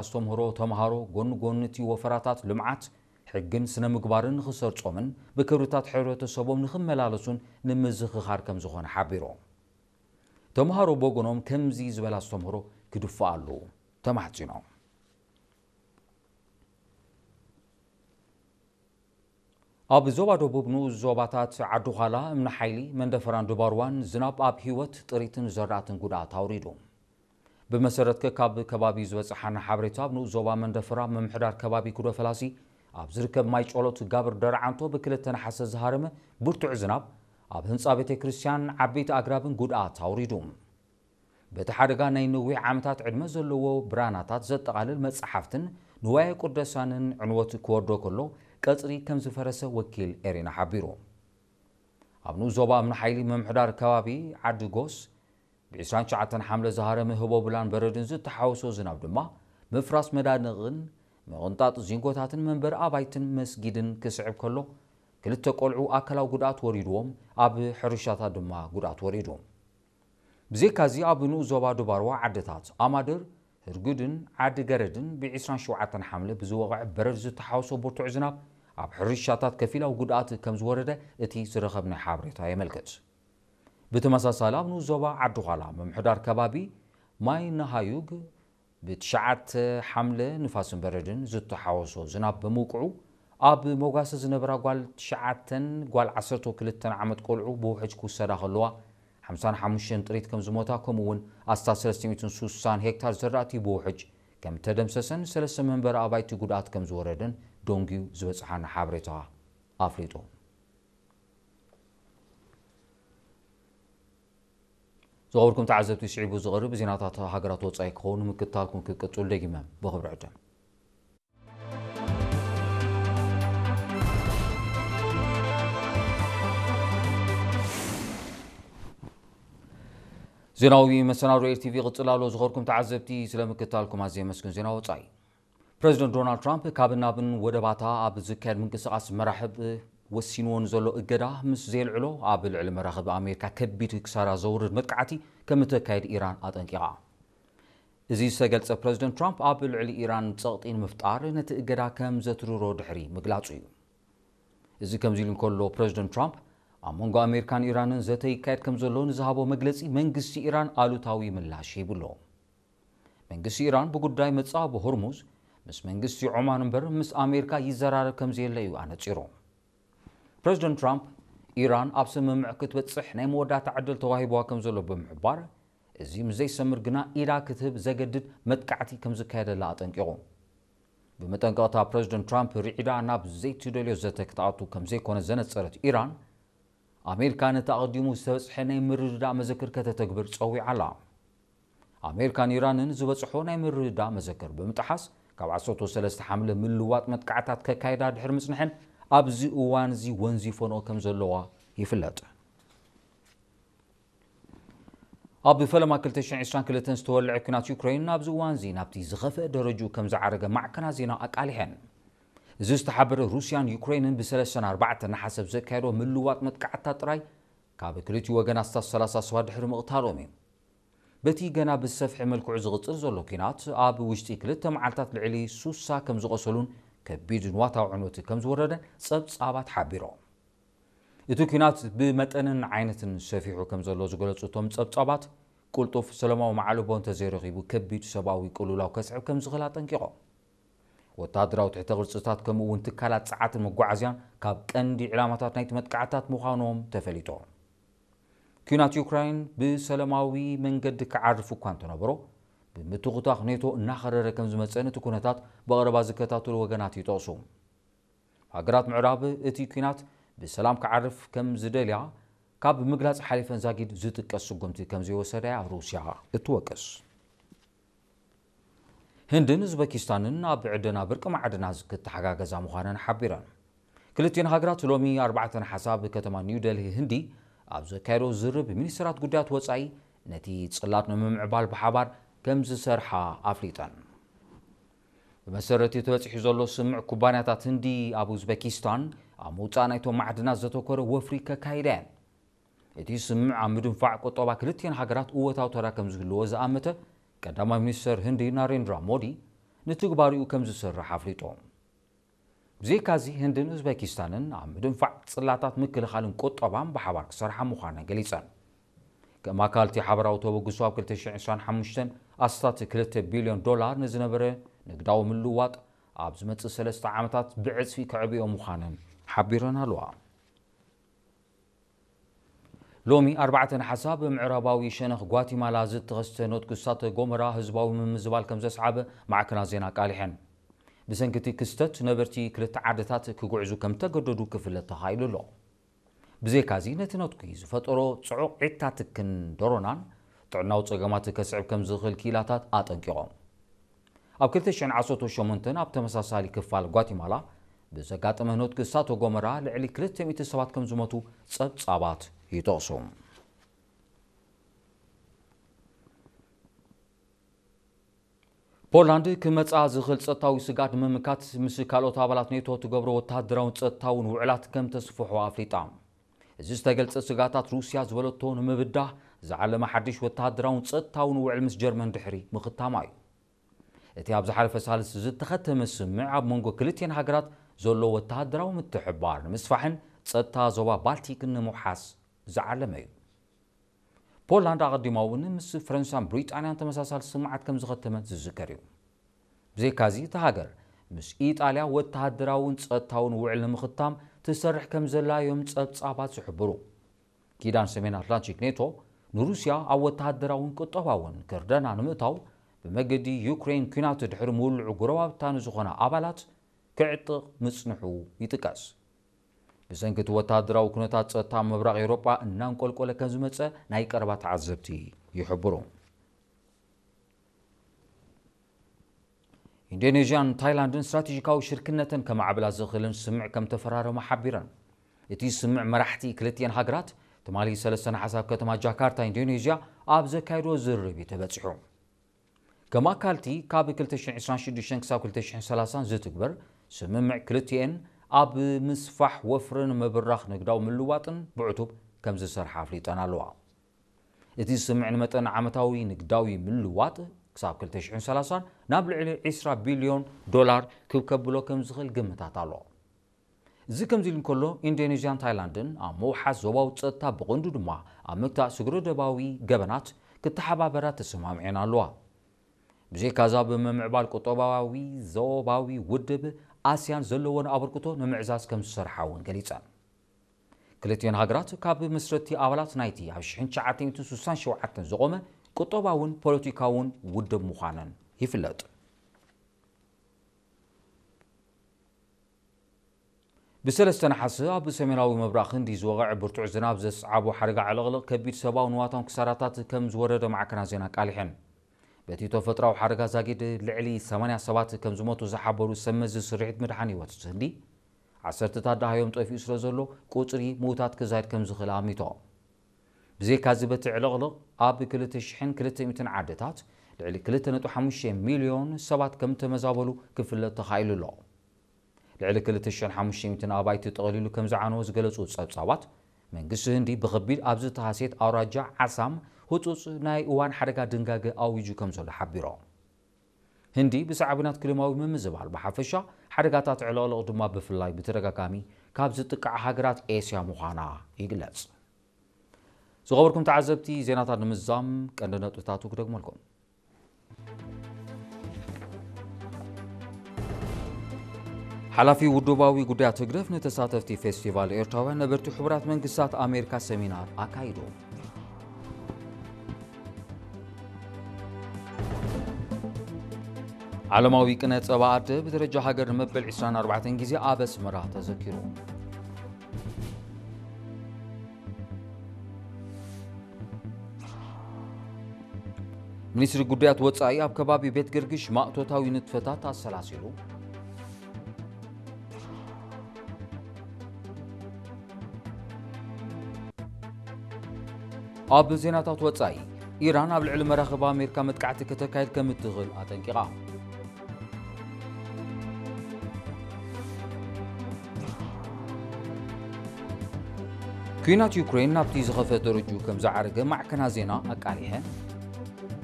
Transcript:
ኣስተምህሮ ተምሃሮ ጎኒ ጎኒ እቲ ወፈራታት ልምዓት፣ ሕግን ስነ ምግባርን ንኽሰርጾምን ብክብርታት ሕብረተሰቦም ንኽመላለሱን ንምዝኽኻር ከም ዝኾነ ሓቢሩ። ተምሃሮ ብወገኖም ከምዚ ዝበለ ኣስተምህሮ ክድፍኣሉ ተማሕጺኖም። ኣብ ዞባ ደቡብ ንኡስ ዞባታት ዓዲ ዃላ፣ እምኒ ሓይሊ፣ መንደፈራን ድባርዋን ዝናብ ኣብ ህይወት ጥሪትን ዘራእትን ጉድኣት ኣውሪዱ። ብመሰረት ከካብ ከባቢ ዝበጽሓና ሓበሬታ፣ ኣብ ንኡስ ዞባ መንደፈራ ምምሕዳር ከባቢ ኩዶ ፈላሲ ኣብ ዝርከብ ማይ ጮሎት ጋብር ደርዓንቶ ብክልተ ነሓሰ ዝሃረመ ብርቱዕ ዝናብ ኣብ ህንጻ ቤተ ክርስቲያን ዓበይቲ ኣግራብን ጉድኣት ኣውሪዱ። በቲ ሓደጋ ናይ ነዊሕ ዓመታት ዕድመ ዘለዎ ብራናታት ዘጠቓልል መጽሓፍትን ንዋየ ቅዱሳንን ዕንወት ክወርዶ ከሎ ቀጽሪ ከም ዝፈረሰ ወኪል ኤሪና ሓቢሩ። ኣብ ንኡስ ዞባ እምኒ ሓይሊ ምምሕዳር ከባቢ ዓዲ ጎስ ብ ዕስራን ትሽዓተን ሓምለ ዝሃረመ ህቦብላን በረድን ዝተሓወሶ ዝናብ ድማ ምፍራስ መዳንቕን ምቕንጣጥ ዚንጎታትን መንበሪ ኣባይትን መስጊድን ክስዕብ ከሎ ክልተ ቆልዑ ኣካላዊ ጉድኣት ወሪድዎም ኣብ ሕርሻታት ድማ ጉድኣት ወሪዱ። ብዘይካዚ ኣብ ንኡስ ዞባ ድባርዋ ዓድታት ኣማድር፣ ህርጉድን ዓዲ ገረድን ብ ዕስራን ሸውዓተን ሓምለ ብዝወቕዐ በረድ ዝተሓወሶ ብርቱዕ ዝናብ ኣብ ሕርሻታት ከፊላዊ ጉድኣት ከም ዝወረደ እቲ ዝረኸብናዮ ሓበሬታ የመልክት። ብተመሳሳሊ ኣብ ንኡስ ዞባ ዓዲ ዃላ ምምሕዳር ከባቢ ማይ ነሃዩግ ብትሽዓተ ሓምለ ንፋስን በረድን ዝተሓወሶ ዝናብ ብምውቅዑ ኣብ መጓሰ ዝነበራ ጓል ትሽዓተን ጓል ዓሰርተ ክልተን ዓመት ቆልዑ ብውሕጅ ክውሰዳ ከለዋ ሓምሳን ሓሙሽተን ጥሪት ከም ዝሞታ ከምኡ እውን ኣስታት ሰለስተ ሚእትን ሱሳን ሄክታር ዘራእቲ ብውሕጅ ከም ተደምሰሰን ሰለስተ መንበሪ ኣባይቲ ጉድኣት ከም ዝወረደን ዶንጊዩ ዝበጽሓና ሓበሬታ ኣፍሊጡ። ዝኸበርኩም ተዓዘብቲ፣ ስዒቡ ዝቐርብ ዜናታት ሃገራት ወጻኢ ክኸውን ምክትታልኩም ክቅጽሉ ደጊመ ብኽብሪ ዕድም። ዜናዊ መሰናዶ ኤር ቲቪ ይቕጽል ኣሎ። ዝኸበርኩም ተዓዘብቲ፣ ስለ ምክትታልኩም ኣዝየ የመስግን። ዜና ወጻኢ። ፕረዚደንት ዶናልድ ትራምፕ ካብን ናብን ወደባታ ኣብ ዝካየድ ምንቅስቓስ መራኽብ ወሲንዎ ንዘሎ እገዳ ምስ ዘየልዕሎ፣ ኣብ ልዕሊ መራኽብ ኣሜሪካ ከቢድ ክሳራ ዘውርድ መጥቃዕቲ ከም እተካይድ ኢራን ኣጠንቂቓ። እዚ ዝተገልጸ ፕረዚደንት ትራምፕ፣ ኣብ ልዕሊ ኢራን ጸቕጢ ንምፍጣር ነቲ እገዳ ከም ዘትርሮ ድሕሪ ምግላጹ እዩ። እዚ ከምዚ ኢሉ እንከሎ፣ ፕረዚደንት ትራምፕ ኣብ መንጎ ኣሜሪካን ኢራንን ዘተ ይካየድ ከም ዘሎ ንዝሃቦ መግለጺ መንግስቲ ኢራን ኣሉታዊ ምላሽ ሂቡ ኣሎ። መንግስቲ ኢራን ብጉዳይ መጻብ ሆርሙዝ ምስ መንግስቲ ዖማን እምበር ምስ ኣሜሪካ ይዘራረብ ከም ዘየለ እዩ ኣነጺሩ። ፕረዚደንት ትራምፕ፣ ኢራን ኣብ ስምምዕ ክትበጽሕ ናይ መወዳእታ ዕድል ተዋሂብዋ ከም ዘሎ ብምሕባር፣ እዚ ምስ ዘይሰምር ግና ኢዳ ክትህብ ዘገድድ መጥቃዕቲ ከም ዝካየደላ ኣጠንቂቑ። ብመጠንቀቕታ ፕረዚደንት ትራምፕ ርዒዳ ናብ ዘይትደልዮ ዘተ ክትኣቱ ከም ዘይኮነ ዘነጸረት ኢራን፣ ኣሜሪካ ነቲ ኣቐዲሙ ዝተበጽሐ ናይ ምርድዳእ መዘክር ከተተግብር ጸዊዓ ኣላ። ኣሜሪካን ኢራንን ዝበጽሖ ናይ ምርድዳእ መዘክር ብምጥሓስ፣ ካብ ዓሰርተ ሰለስተ ሓምለ ምልዋጥ መጥቃዕታት ከካይዳ ድሕሪ ምጽንሐን፣ ኣብዚ እዋን እዚ ወንዚፈንኦ ከም ዘለዋ ይፍለጥ። ኣብ ፈለማ ክልተ ሽሕን ዕስራን ክልተን ዝተወልዐ ኲናት ዩክሬን ኣብዚ እዋን እዚ ናብቲ ዝኸፍአ ደረጅኡ ከም ዝዓረገ ማዕከናት ዜና ኣቃሊሐን። እዚ ዝተሓበረ፣ ሩስያን ዩክሬንን ብሰለስተን ኣርባዕተን ነሓሰ ኣብ ዘካየዶ ምልዋጥ መጥቃዕትታት ጥራይ ካብ ክልቲኡ ወገን ኣስታት ሰላሳ ሰባት ድሕሪ ምቕታሎም እዩ። በቲ ገና ብዝሰፍሐ መልክዑ ዝቕጽል ዘሎ ኲናት፣ ኣብ ውሽጢ ክልተ መዓልታት ልዕሊ ሱሳ ከም ዝቖሰሉን ከቢድ ንዋታዊ ዕንወት ከም ዝወረደን ጸብጻባት ሓቢሮም። እቲ ኲናት ብመጠንን ዓይነትን ሰፊሑ ከም ዘሎ ዝገለጹ እቶም ጸብጻባት፣ ቅልጡፍ ሰላማዊ መዓልቦ እንተዘይረኺቡ ከቢድ ሰብኣዊ ቅልውላው ከስዕብ ከም ዝኽእል ኣጠንቂቖም። ወተሃደራዊ ትሕተ ቅርጽታት ከምኡ እውን ትካላት ጸዓትን መጓዓዝያን ካብ ቀንዲ ዕላማታት ናይቲ መጥቃዕትታት ምዃኖም ተፈሊጡ። ኲናት ዩክራይን ብሰላማዊ መንገዲ ክዓርፍ እኳ እንተነበሮ፣ ብምትኹታኽ ኔቶ እናኸረረ ከም ዝመጸን እቲ ኩነታት ብቐረባ ዝከታተሉ ወገናት ይጠቕሱ። ሃገራት ምዕራብ እቲ ኲናት ብሰላም ክዓርፍ ከም ዝደልያ ካብ ምግላጽ ሓሊፈን ዛጊድ ዝጥቀስ ስጉምቲ ከም ዘይወሰዳ እያ ሩስያ እትወቅስ። ህንድን ኡዝበኪስታንን ኣብ ዕደና ብርቂ ማዕድናት ክተሓጋገዛ ምዃነን ሓቢረን። ክልቲኤን ሃገራት ሎሚ ኣርባዕተ ነሓሰ ኣብ ከተማ ኒው ደልሂ ህንዲ ኣብ ዘካየዶ ዝርብ ሚኒስትራት ጉዳያት ወጻኢ ነቲ ጽላት ንምምዕባል ብሓባር ከም ዝሰርሓ ኣፍሊጠን። ብመሰረት እቲ ተበጺሑ ዘሎ ስምምዕ፣ ኩባንያታት ህንዲ ኣብ ኡዝበኪስታን ኣብ ምውጻእ ናይቶም ማዕድናት ዘተኮረ ወፍሪ ከካይዳ እየን። እቲ ስምምዕ ኣብ ምድንፋዕ ቁጠባ ክልቲኤን ሃገራት እወታዊ ተራ ከም ዝህልዎ ዝኣመተ ቀዳማይ ሚኒስተር ህንዲ ናሬንድራ ሞዲ፣ ንትግባሪኡ ከም ዝሰርሕ ኣፍሊጡ። ብዘይካዚ ህንድን ኡዝቤኪስታንን ኣብ ምድንፋዕ ጽላታት ምክልኻልን ቁጠባን ብሓባር ክሰርሓ ምዃነን ገሊጸን። ከም ኣካል እቲ ሓበራዊ ተበግሶ ኣብ ክልተ ሽሕን ዕስራን ሓሙሽተን ኣስታት ክልተ ቢልዮን ዶላር ንዝነበረ ንግዳዊ ምልውዋጥ ኣብ ዝመጽእ ሰለስተ ዓመታት ብዕጽፊ ከዕብዮ ምዃነን ሓቢረን ኣለዋ። ሎሚ ኣርባዕተ ነሓሳ ብምዕራባዊ ሸነኽ ጓቲማላ ዝተኸስተ ኖትክ እሳተ ጎመራ ህዝባዊ ምምዝባል ከም ዘስዓበ ማዕከናት ዜና ኣቃሊሐን። ብሰንኪ እቲ ክስተት ነበርቲ ክልተ ዓድታት ክጉዕዙ ከም ተገደዱ ክፍለጥ ተኻኢሉ ኣሎ። ብዘይካዚ ነቲ ኖትኪ ዝፈጠሮ ጽዑቕ ዒታትክን ዶሮናን ጥዕናዊ ጸገማት ከስዕብ ከም ዝኽእል ክኢላታት ኣጠንቂቖም። ኣብ ክልተ ሽሕን ዓሰርተ ሸሞንተን ኣብ ተመሳሳሊ ክፋል ጓቲማላ ብዘጋጠመ ኖትክ እሳተ ጎመራ ልዕሊ ክልተ ሚእቲ ሰባት ከም ዝሞቱ ጸብጻባት ይጠቕሱ። ፖላንድ ክመጽኣ ዝኽእል ጸጥታዊ ስግኣት ንምምካት ምስ ካልኦት ኣባላት ኔቶ ትገብሮ ወተሃደራውን ጸጥታውን ውዕላት ከም ተስፍሖ ኣፍሊጣ። እዚ ዝተገልጸ ስግኣታት ሩስያ ዝበለቶ ንምብዳህ ዝዓለመ ሓድሽ ወተሃደራውን ጸጥታውን ውዕል ምስ ጀርመን ድሕሪ ምኽታማ እዩ። እቲ ኣብ ዝሓለፈ ሳልስ ዝተኸተመ ስምምዕ ኣብ መንጎ ክልቲኤን ሃገራት ዘሎ ወተሃደራዊ ምትሕብባር ንምስፋሕን ጸጥታ ዞባ ባልቲክን ንምውሓስ ዝዓለመ እዩ። ፖላንድ ኣቐዲማ እውን ምስ ፈረንሳን ብሪጣንያን ተመሳሳሊ ስምምዓት ከም ዝኸተመት ዝዝከር እዩ። ብዘይካዚ እታ ሃገር ምስ ኢጣልያ ወተሃደራውን ጸጥታውን ውዕል ንምኽታም ትሰርሕ ከም ዘላ እዮም ጸብጻባት ዝሕብሩ። ኪዳን ሰሜን ኣትላንቲክ ኔቶ ንሩስያ ኣብ ወተሃደራውን ቁጠባውን ክርደና ንምእታው ብመገዲ ዩክሬን ኲናት ድሕሪ ምውልዑ ጎረባብታ ንዝኾና ኣባላት ክዕጥቕ ምጽንሑ ይጥቀስ። ብሰንኪ እቲ ወተሃደራዊ ኩነታት ጸጥታ ምብራቕ ኤውሮጳ እናንቆልቆለ ከም ዝመጸ ናይ ቀረባ ተዓዘብቲ ይሕብሩ። ኢንዶኔዥያን ታይላንድን ስትራቴጂካዊ ሽርክነተን ከማዕብላ ዝኽእልን ስምምዕ ከም ተፈራረማ ሓቢረን። እቲ ስምምዕ መራሕቲ ክልቲኤን ሃገራት ትማሊ ሰለስተ ነሓስ ኣብ ከተማ ጃካርታ ኢንዶኔዥያ ኣብ ዘካየድዎ ዝርርብ እዩ ተበጺሑ። ከም ኣካልቲ ካብ ክልተ ሽሕን ዕስራን ሽዱሽተን ክሳብ ክልተ ሽሕን ሰላሳን ዝትግበር ስምምዕ ክልቲኤን ኣብ ምስፋሕ ወፍርን ምብራኽ ንግዳዊ ምልዋጥን ብዕቱብ ከም ዝሰርሓ ኣፍሊጠን ኣለዋ። እቲ ስምምዕ ንመጠን ዓመታዊ ንግዳዊ ምልዋጥ ክሳብ ክልተ ሽሕን ሰላሳን ናብ ልዕሊ ዕስራ ቢልዮን ዶላር ክብ ከብሎ ከም ዝኽእል ግምታት ኣሎ። እዚ ከምዚ ኢሉ እንከሎ፣ ኢንዶኔዥያን ታይላንድን ኣብ ምውሓስ ዞባዊ ጸጥታ ብቐንዱ ድማ ኣብ ምግታእ ስግረ ደባዊ ገበናት ክተሓባበራ ተሰማሚዐን ኣለዋ። ብዘይካዚ ኣብ ምምዕባል ቁጠባዊ ዞባዊ ውድብ ኣስያን ዘለወን ኣበርክቶ ንምዕዛዝ ከም ዝሰርሓ እውን ገሊጸን። ክልቲኤን ሃገራት ካብ መስረቲ ኣባላት ናይቲ ኣብ ሽሕን ትሽዓተ ሚእትን ስሳን ሸውዓተን ዝቖመ ቁጠባውን ፖለቲካውን ውድብ ምዃነን ይፍለጥ። ብሰለስተ ነሓሰ ኣብ ሰሜናዊ ምብራቕ ህንዲ ዝወቕዐ ብርቱዕ ዝናብ ዘስዓቦ ሓደጋ ዕልቕልቕ ከቢድ ሰብኣዊ ንዋታውን ክሳራታት ከም ዝወረደ ማዕከናት ዜና ኣቃሊሐን። በቲ ተፈጥሮኣዊ ሓደጋ ዛጊድ ልዕሊ ሰማንያ ሰባት ከም ዝሞቱ ዝሓበሩ ሰብ መዚ ስርሒት ምድሓን ህይወት ህንዲ፣ ዓሰርተታት ደሃዮም ጠፊኡ ስለ ዘሎ ቁጽሪ ምዉታት ክዛይድ ከም ዝኽእል ኣሚቶም። ብዘይካዚ በቲ ዕልቕልቕ ኣብ ክልተ ሽሕን ክልተ ሚእትን ዓድታት ልዕሊ ክልተ ነጥቢ ሓሙሽተ ሚልዮን ሰባት ከም ተመዛበሉ ክፍለጥ ተኻኢሉ ኣሎ። ልዕሊ ክልተ ሽሕን ሓሙሽተ ሚእትን ኣባይቲ ጠቕሊሉ ከም ዝዓነወ ዝገለጹ ጸብጻባት፣ መንግስቲ ህንዲ ብኸቢድ ኣብ ዝተሃስየት ኣውራጃ ዓሳም ህጹጽ ናይ እዋን ሓደጋ ድንጋገ ኣዊጁ ከም ዘሎ ሓቢሮም። ህንዲ ብሳዕቤናት ክሊማዊ ምምዝባል ብሓፈሻ፣ ሓደጋታት ዕልቕልቕ ድማ ብፍላይ ብተደጋጋሚ ካብ ዝጥቃዓ ሃገራት ኤስያ ምዃና ይግለጽ። ዝኸበርኩም ተዓዘብቲ፣ ዜናታት ንምዝዛም ቀንዲ ነጥብታቱ ክደግመልኩም። ሓላፊ ውድባዊ ጉዳያት ህግደፍ ንተሳተፍቲ ፌስቲቫል ኤርትራውያን ነበርቲ ሕቡራት መንግስታት ኣሜሪካ ሰሚናር ኣካይዱ። ዓለማዊ ቅነ ጸባ ኣደ ብደረጃ ሃገር ንመበል ዕስራን ኣርባዕተን ግዜ ኣብ ኣስመራ ተዘኪሩ። ሚኒስትሪ ጉዳያት ወጻኢ ኣብ ከባቢ ቤት ገርግሽ ማእቶታዊ ንጥፈታት ኣሰላሲሉ። ኣብ ዜናታት ወጻኢ፣ ኢራን ኣብ ልዕሊ መራኽብ ኣሜሪካ መጥቃዕቲ ከተካይድ ከም እትኽእል ኣጠንቂቓ። ኲናት ዩክሬን ናብቲ ዝኸፈ ደረጅኡ ከም ዝዓረገ ማዕከናት ዜና ኣቃሊሐን።